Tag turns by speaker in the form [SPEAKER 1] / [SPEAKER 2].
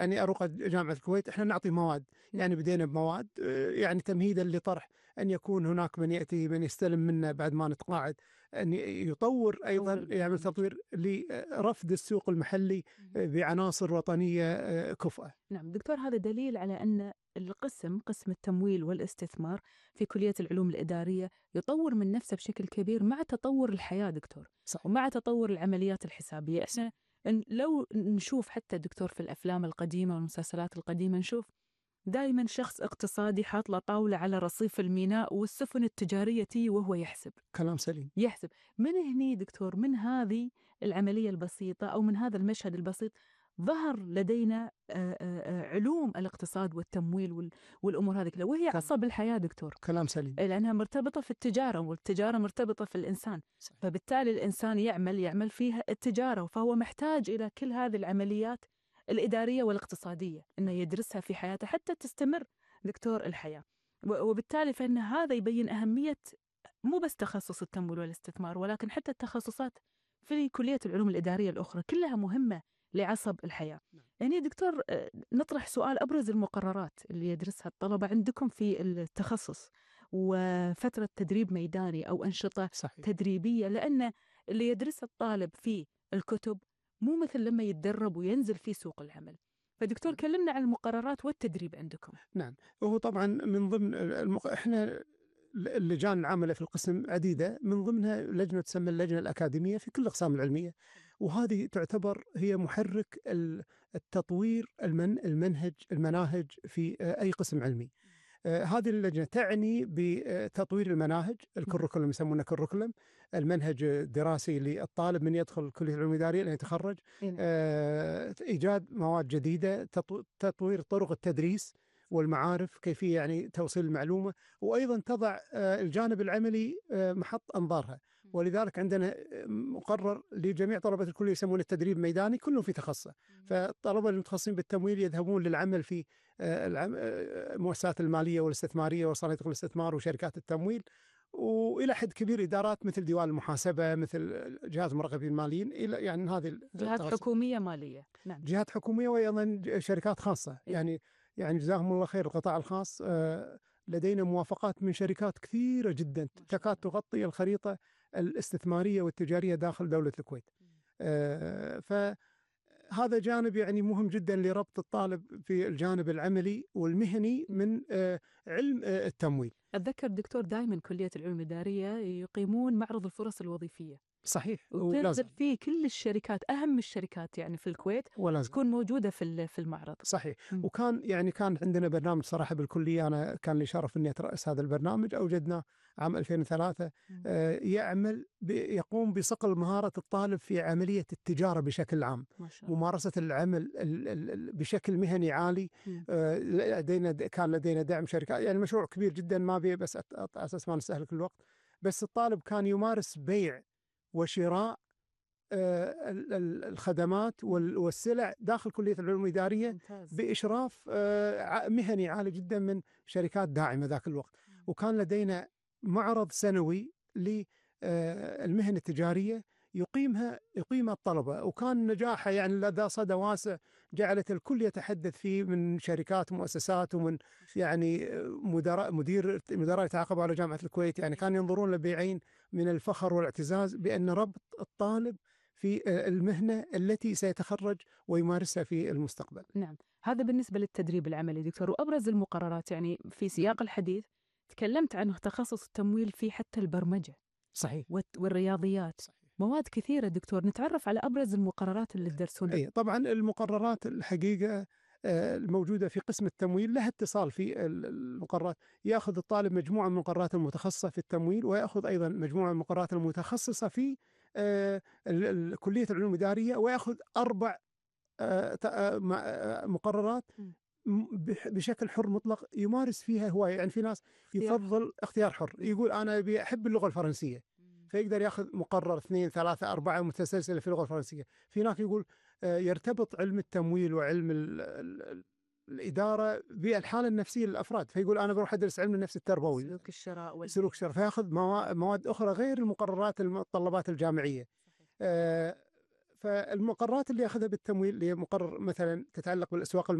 [SPEAKER 1] أني أروق جامعة الكويت، إحنا نعطي مواد. يعني بدينا بمواد يعني تمهيدا لطرح أن يكون هناك من يأتي من يستلم منا بعد ما نتقاعد، أن يطور أيضا، يعمل تطوير لرفد السوق المحلي بعناصر وطنية كفؤة.
[SPEAKER 2] نعم دكتور، هذا دليل على أن قسم التمويل والاستثمار في كلية العلوم الإدارية يطور من نفسه بشكل كبير مع تطور الحياة دكتور.
[SPEAKER 1] صحيح.
[SPEAKER 2] ومع تطور العمليات الحسابية. إحنا لو نشوف حتى دكتور في الأفلام القديمة والمسلسلات القديمة، نشوف دائما شخص اقتصادي حاط له طاولة على رصيف الميناء والسفن التجارية تي وهو يحسب.
[SPEAKER 1] كلام سليم.
[SPEAKER 2] يحسب من هني دكتور، من هذه العملية البسيطة أو من هذا المشهد البسيط ظهر لدينا علوم الاقتصاد والتمويل والأمور هذه كلها، وهي عصب الحياة دكتور.
[SPEAKER 1] كلام سليم.
[SPEAKER 2] لأنها مرتبطة في التجارة، والتجارة مرتبطة في الإنسان.
[SPEAKER 1] صحيح.
[SPEAKER 2] فبالتالي الإنسان يعمل فيها التجارة، فهو محتاج إلى كل هذه العمليات الإدارية والاقتصادية إنه يدرسها في حياته حتى تستمر دكتور الحياة. وبالتالي فإن هذا يبين أهمية مو بس تخصص التمويل والاستثمار، ولكن حتى التخصصات في كلية العلوم الإدارية الأخرى كلها مهمة لعصب الحياة. يعني دكتور، نطرح سؤال: أبرز المقررات اللي يدرسها الطلبة عندكم في التخصص، وفترة تدريب ميداني أو أنشطة
[SPEAKER 1] صحيح.
[SPEAKER 2] تدريبية، لأن اللي يدرس الطالب في الكتب مو مثل لما يتدرب وينزل في سوق العمل. فدكتور كلمنا عن المقررات والتدريب عندكم.
[SPEAKER 1] نعم، وهو طبعا من ضمن احنا اللجان العاملة في القسم عديدة، من ضمنها لجنة تسمى اللجنة الأكاديمية في كل الأقسام العلمية، وهذه تعتبر هي محرك التطوير المناهج في أي قسم علمي. هذه اللجنة تعني بتطوير المناهج، الكوريكولم، يسمونه كوريكولم، المنهج الدراسي للطالب من يدخل كلية العلوم الإدارية لين يتخرج. إيجاد مواد جديدة، تطوير طرق التدريس والمعارف، كيفية يعني توصيل المعلومة، وأيضا تضع الجانب العملي محط أنظارها. ولذلك عندنا مقرر لجميع طلبة الكلية يسمونه التدريب ميداني، كلهم في تخصصه. فالطلبة المتخصصين بالتمويل يذهبون للعمل في المؤسسات المالية والاستثمارية وصناديق الاستثمار وشركات التمويل، وإلى حد كبير إدارات مثل ديوان المحاسبة، مثل جهات المراقبين الماليين، إلى يعني هذه
[SPEAKER 2] جهات حكومية مالية. نعم.
[SPEAKER 1] جهات حكومية وأيضا شركات خاصة. يعني جزاهم الله خير القطاع الخاص، لدينا موافقات من شركات كثيرة جدا تكاد تغطي الخريطة الاستثمارية والتجارية داخل دولة الكويت. فهذا جانب يعني مهم جدا لربط الطالب في الجانب العملي والمهني من علم التمويل.
[SPEAKER 2] أتذكر دكتور دائما كلية العلوم الإدارية يقيمون معرض الفرص الوظيفية.
[SPEAKER 1] صحيح.
[SPEAKER 2] وتنزل فيه كل الشركات، أهم الشركات يعني في الكويت تكون موجودة في المعرض.
[SPEAKER 1] صحيح. وكان يعني كان عندنا برنامج صراحة بالكلية، أنا كان لي شرف أني أترأس هذا البرنامج، أوجدناه عام 2003. يقوم بصقل مهارة الطالب في عملية التجارة بشكل عام، ممارسة العمل بشكل مهني عالي. كان لدينا دعم شركات، يعني مشروع كبير جدا، ما بيه بس أساس ما نستهلك الوقت. بس الطالب كان يمارس بيع وشراء الخدمات والسلع داخل كلية العلوم الإدارية بإشراف مهني عالي جدا من شركات داعمة ذاك الوقت. وكان لدينا معرض سنوي للمهن التجارية يقيمها الطلبة، وكان نجاحها يعني لدى صدى واسع، جعلت الكل يتحدث فيه من شركات ومؤسسات، ومن يعني مدراء يتعاقبوا على جامعة الكويت، يعني كانوا ينظرون لبعين من الفخر والاعتزاز بأن ربط الطالب في المهنة التي سيتخرج ويمارسها في المستقبل.
[SPEAKER 2] نعم، هذا بالنسبة للتدريب العملي دكتور. وأبرز المقررات يعني في سياق الحديث تكلمت عن تخصص التمويل في حتى البرمجة.
[SPEAKER 1] صحيح.
[SPEAKER 2] والرياضيات. صحيح. مواد كثيرة دكتور، نتعرف على أبرز المقررات اللي تدرسونها.
[SPEAKER 1] طبعا المقررات الحقيقة الموجودة في قسم التمويل لها اتصال في المقررات. يأخذ الطالب مجموعة من المقررات المتخصصة في التمويل، ويأخذ أيضا مجموعة من المقررات المتخصصة في كلية العلوم الإدارية، ويأخذ 4 مقررات بشكل حر مطلق يمارس فيها هواية. يعني في ناس يفضل اختيار حر، يقول أنا بحب اللغة الفرنسية، فيقدر يأخذ مقرر 2 3 4 متسلسلة في اللغة الفرنسية. في ناس يقول يرتبط علم التمويل وعلم الإدارة بالحالة النفسية للأفراد، فيقول أنا بروح أدرس علم النفس التربوي، سلوك الشراء، فيأخذ مواد أخرى غير المقررات المتطلبات الجامعية. فالمقرات اللي ياخذها بالتمويل اللي هي مقرر مثلا تتعلق بالاسواق